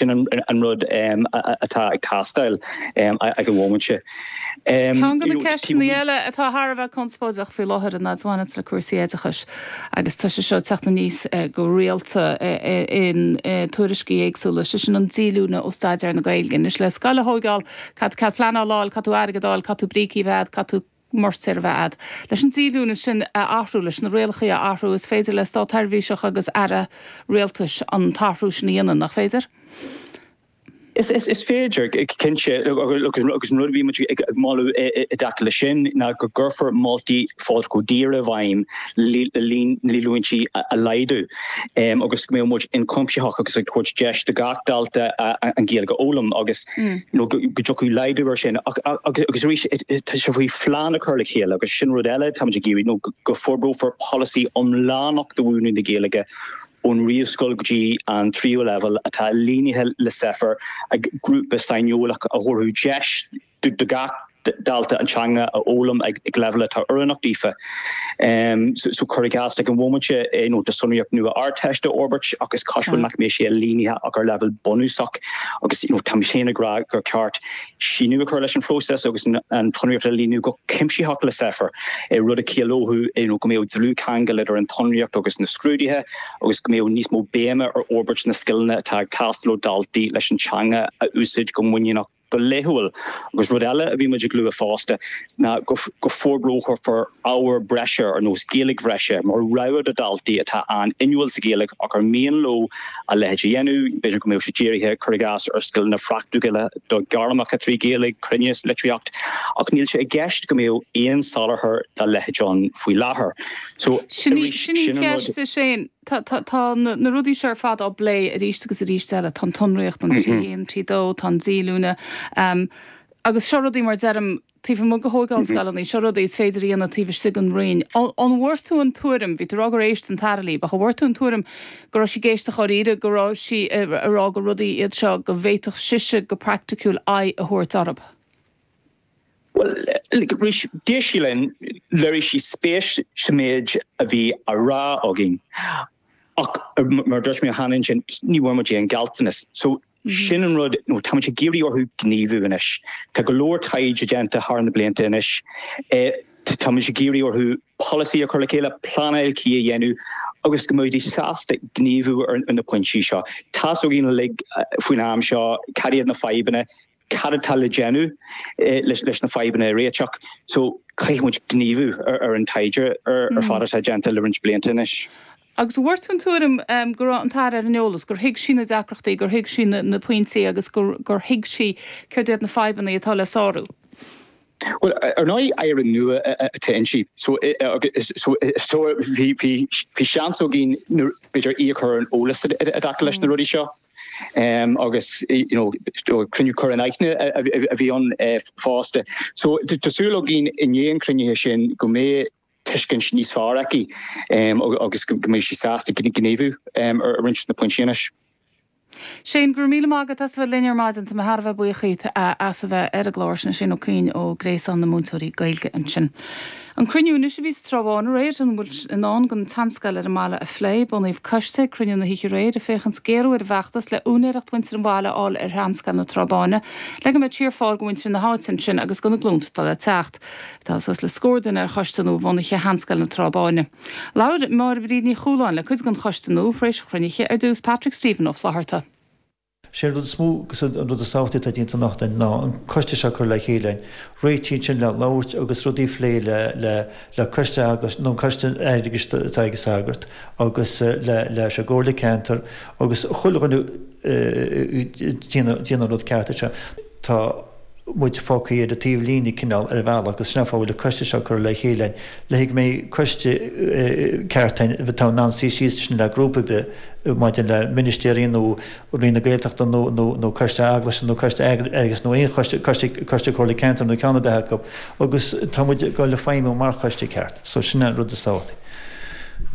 Sin an rud atá ag teastáil ag an bhomaite. Ceann de na ceisteanna eile atá thar a bheith conspóideach faoi láthair an fhad a bhaineanns le cúrsaí oideachais agus tá sé seo ag teacht aníos go rialta in tuairiscí éagsúla, sé sin an díolúine ó staidéar na Gaeilge. Anois le scoil a thóigeáil, caithfidh tú cead pleanála a fháil, caithfidh tú airgead a fháil, caithfidh tú brící a bheith a'd, caithfidh tú moirtéar a bheith a'd. Leis an díolúine sin a athrú, leis na rialacha a athrú, is féidir le státsheirbhíseach agus aire rialtais an t-athrú sin a dhéanamh, nach féidir? Is féidir, cinnte, agus an rud a bhí muid ag moladh i dtaca leis sin ná go gcuirfear moltaí Phádraig Ó Duibhir i bhfeidhm le líon na ndíolúintí a laghdú agus go mbeadh muid ionchuimsitheach agus ag tabhairt deis do gach dalta an Ghaeilge a fhoghlaim agus go dtiocfadh laghdú air sin. Agus arís, tá sé faoi phlean a chur le chéile agus sin rud eile táimid ag iarraidh, nó go forbrófar polasaí iomlánach do mhúineadh na Gaeilge ón réamhscoil go dtí an tríú leibhéal atá ailínithe le Safer ag grúpa saineolach a thabharfadh deis do gach dalta an teanga a fhoghlaim ag leibhéal atá oiriúnach daofa. So cuir i gcás ag an bhomaite, nó tá sonraíocht nua Ardteiste á fhorbairt ach is cosúil nach mbeidh sé ailínithe ach ar leibhéal bunúsach agus you know táim féin ag rá gur ceart síneadh a chur leis an phróiseas agus an tsonraíocht a ailíniú go cuimsitheach le Safer, rud a chiallódh you know go mbeadh dlúthcheangal idir an tsonraíocht agus na scrúduithe agus go mbeadh níos mó béime ar fhorbairt na scileanna atá ag teastáil ó dhaltaí leis an teanga a úsáid go muiníneach go laethúil. Agus rud eile a bhí muid ag lua fosta ná go forbrófar ábhar breise ar nós Gaeilge bhreise mar rogha do dhaltaí atá an-inniúil sa Ghaeilge ach ar mian leo a leithéid a dhéanamh. B'fhéidir go mbeadh sé dírithe, cuir i gcás, ar scileanna praiticiúla do ghairmeacha trí Ghaeilge, cruinneas, litríocht, ach níl sé i gceist go mbeadh aon soláthar dá leithéid ann faoi láthair. So, Sin í arís, sin í sin an rud. cheist, a Shane. Tá, tá, tá na, na rudaí seo ar fad á bplé arís agus arís eile. Tá an tsonraíocht, an 3 1, 3 2, tá an díolúine. Agus seo rudaí, mar deirim, taobh amuigh de thóigeáil scoileanna, seo rudaí is féidir a dhéanamh taobh istigh den Roinn. An bhfuair tú an tuairim, bhí tú ag rá gur éist an tAire libh, ach an bhfuair tú an tuairim go raibh sí ag éisteacht dháiríre, go raibh sí ag rá gur rudaí iad seo go bhféadfadh sise go praiticiúil aghaidh a thabhairt orthu? Bhuel, arís, d'éist sí linn, léirigh sí spéis sa méid a bhí á rá againn. Ach, mar a dúirt mé cheana ansin, ní bhfuair muid aon ghealltanas. So, sin an rud, nó tá muid ag iarraidh orthu gníomhú anois. Tá go leor taighde déanta thar na blianta anois. Tá muid ag iarraidh orthu polasaí a chur le chéile, pleanáil cuí a dhéanamh agus go mbeidís sásta gníomhú ar na pointí seo. Tá's againn uilig faoin am seo cad iad na fadhbanna, cad atá le déanamh leis na fadhbanna a réiteach. So caithfidh muid gníomhú ar an taighde ar fad atá déanta le roinnt blianta anois. Agus an bhfuair tú an tuairim go raibh an tAire ar an eolas, gur thuig sí na deacrachtaí, gur thuig sí na pointí agus gur thuig sí céard iad na fadhbanna atá le sárú? Bhuel, ar ndóigh, Aire nua atá inti, so so bhí seans againn b'fhéidir í a chur ar an eolas i dtaca leis na rudaí seo. Agus you know cruinniú cur in aithne a bhí ann fosta. So tá súil againn i ndiaidh an chruinnithe sin go mbeidh tuiscint níos fearr aici agus go mbeidh sí sásta gníomhú ar roinnt de na pointí anois. Shane, go raibh míle maith agat as a bheith linn ar maidin. Tá mé thar a bheith buíoch díot as a bheith ar an gclár. Sin Shane Ó Cuinn ó Gréasán na Múinteoirí Gaeilge ansin. An cruinniú anois a bhí sa Trá Bháin aréir, an bhfuil i ndán don tseanscoil ar an mbaile a phlé. Bunaíodh coiste ag cruinniú na hoíche aréir ag féachaint géarú ar an bhfeachtas le úinéireacht mhuintir an bhaile a fháil ar sheanscoil na Trá Báine le go mbeadh sí ar fáil do mhuintir na háite ansin agus do na glúnta atá le teacht. Tá suas le scór duine ar choiste nua bhunaithe Sheanscoil na Trá Báine. Labhair Máire Bríd Ní Chualáin le cuid den choiste nua tar éis an chruinnithe, ar dtús Patrick Stephen Ó Flatharta. Sé an rud is mó agus an rud is tábhachtaí atá déanta anocht againn ná an coiste seo a chur le chéile againn. Réitigh ansin le labhairt agus rudaí a phlé le le le coiste eaglais nó an coiste airgeadais atá ag an sagart agus le leis an gcomhairle ceantair agus chuile dhuine déanamh an rud ceart anseo. Tá. muid fágtha ar an taobh líne cineál ar bhealach agus sin an fáth a bhfuil an coiste seo curtha le chéile againn le go mbeidh coiste ceart againn atá in ann suí síos le grúpa ar bith maidir le ministéirí nó Roinn na Gaeltachta nó nó nó coiste eaglaise nó coiste airgeadais nó aon choiste coiste coiste comhairle ceantair nó ceann ar bith acu agus tá muid ag dul a feidhmiú mar choiste ceart so sin an rud is tábhachtaí.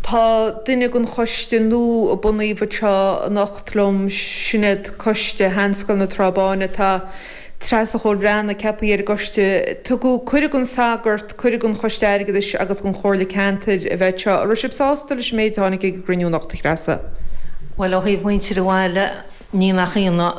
Tá duine den choiste nua a bunaíodh anseo anocht liom, sin iad coiste Sheanscoil na Trá Báine. Tá Treasa Chóil Bhreathnaigh ceaptha ar an gcoiste. Tugadh cuireadh don sagart, cuireadh don Choiste Airgeadais agus don Chomhairle Ceantair a bheith anseo. An raibh sibh sásta leis an méid a tháinig ag an gcruinniú anocht, a Threasa? Bhuel, ó thaobh muintir an bhaile. Ní nach ionadh.